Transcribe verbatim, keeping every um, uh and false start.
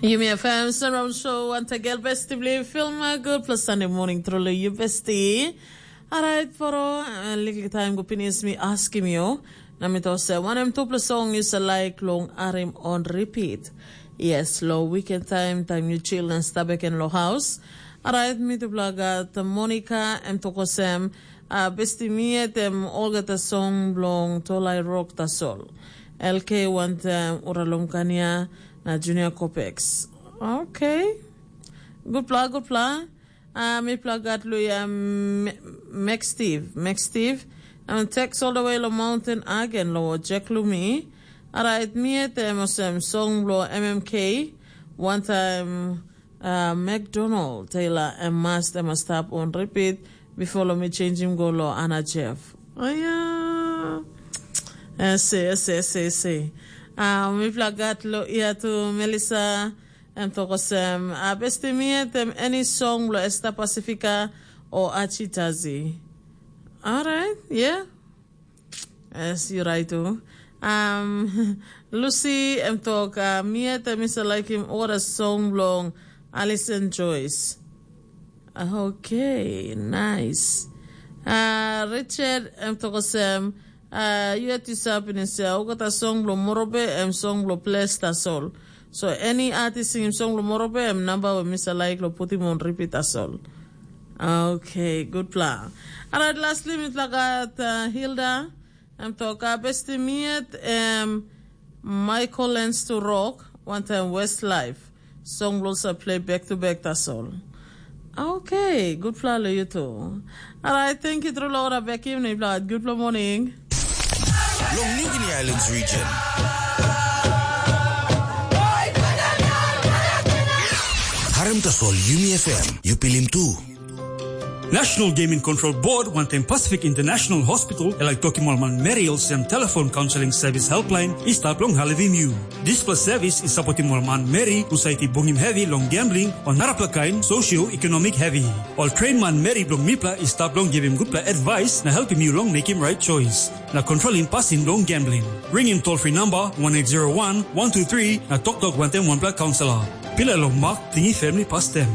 Yumi F M Surround Show, wantagen besti bilong film, a gutpela Sunday morning truly, yu besti. Alright, poro, uh, liklik taim go pinis mi askim yu. Na mi tok se, wanem tupela song yu sa laik long arim on repeat? Yes, lo weekend time, time yu chill na stap bek en lo house. Alright, mi tupela gat Monica, em tok olsem, uh, besti mi yet em olgeta song bilong Tolai Rock tasol. L K wantaim Uralum Kania na Junior Copex. Okay. Gutpela, gutpela. Uh, mipela gat luya Max Steve. Max Steve. Em text all the way lo mountain again lo Jack Lumi. Alright, mi yet em olsem song bilong M M K. One time uh, McDonald Taylor em must em stop on repeat before lo mi changing go lo Anna Jeff. Oh yeah. Ese, ese, ese, ese. Uh, mipela gat lo ia tu Melissa. Em tok olsem, a besti mi yet em any song lo Esta Pacifica o Achitazi. Alright, yeah. Yes, you're right too. Um, Lucy, em tok, uh, mi yet em isa laikim ora song bilong Alison Joyce. Okay, nice. Uh, Richard, em tok olsem, uh, yu yet yu sa pinis ya, olgeta song bilong Morobe, em song bilong ples tasol. So, any artist singim song bilong Morobe, em namba we mi sa laik lo putim on repeat tasol. Okay, good plan. Alright, lastly, mi tlagat uh, Hilda. Em tok, uh, besti mi yet, em Michael Lens to Rock, one time Westlife. Song bilong sa play back to back tasol. Okay, good plan lo you too. Alright, thank you, True Laura Bekim, ni bla, good morning. Long Ningini Islands region. Harim tasol Yumi F M, yu pilim tu. National Gaming Control Board wantaim Pacific International Hospital e laik tokim ol manmeri olsem telefon kaunseling sevis helpline i stap long helpim yu. Dispela sevis i sapotim ol manmeri husat i bungim hevi long gambling o narapela kain socio-economic hevi. Ol train manmeri bilong mipela i stap long givim gutpela advice na helpim yu long mekim right choice na kontrolim pasin bilong gambling. Ringim toll free number one eight zero one one two three na toktok wantaim wanpela kaunselor. Pilai long mak, tingi family pastem.